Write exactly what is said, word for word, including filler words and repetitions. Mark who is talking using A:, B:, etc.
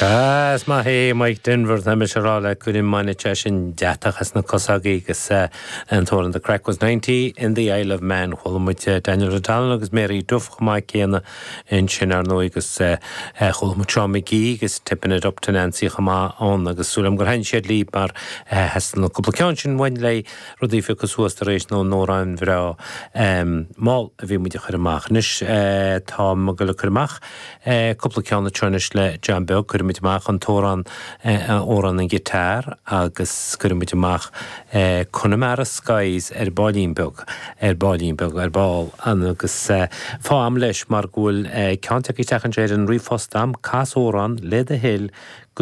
A: Sea, is maith é Mike Denver tá mise ag rá leat go mbainfidh sé sin deatach as na cosa agus an t-amhrán The Craic was ninety in the Isle of Man. Chuala muid Daniel O'Donnell agus Mary Duff chomh maith céanna ansin ar ndóigh agus chuala muid Seán McGee agus Tipping It Up to Nancy chomh maith ann agus súil agam gur thaitin siad libh mar theastaigh na cúpla ceann sin uainn le rudaí a phiocadh suas tar éis na n-amhrán bhreá mall a bhí muid a chur amach. Anois tá ag dul a cur amach cúpla ceann anseo anois le John Beag, cuirfimid amach an t-amhrán amhrán an guitar agus cuirfimid amach Connemara Skies ar baillín beag ar baillín beag ar ball an agus fáth a'm leis mar go bhfuil ceann tagtha isteach anseo ar an ríomhphost a'm cas amhrán le do thoil go